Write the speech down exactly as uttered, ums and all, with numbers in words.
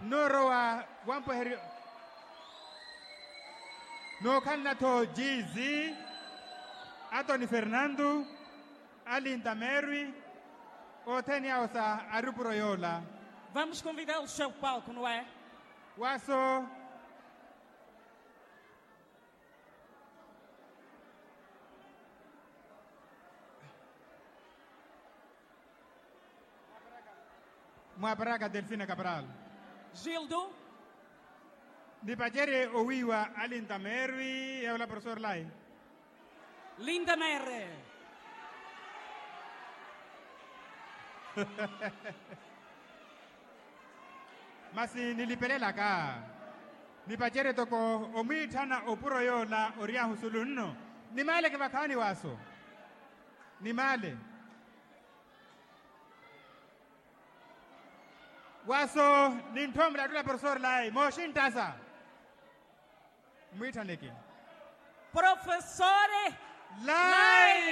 Noorowa wampweheryo nookhalana-tho jiizi, atoni fernando, alinda mary, othene awo sa arupuro yoola. Vamos convidá-los ao palco, não é? Waso. Mwaparaka delfina cabral. Gildo. Nipacerye owiiwa alinda mary yawola profesor lai. Linda mary. Masi nilipelelaka nipacerye toko omwiitthana opuro yoola oryahu sulu nno. Nimaleke vakhaani waso. Nimaale. Waso nintthoomola attula profesor lai mooxinttasa. Mmwiitthaneke profesor lai.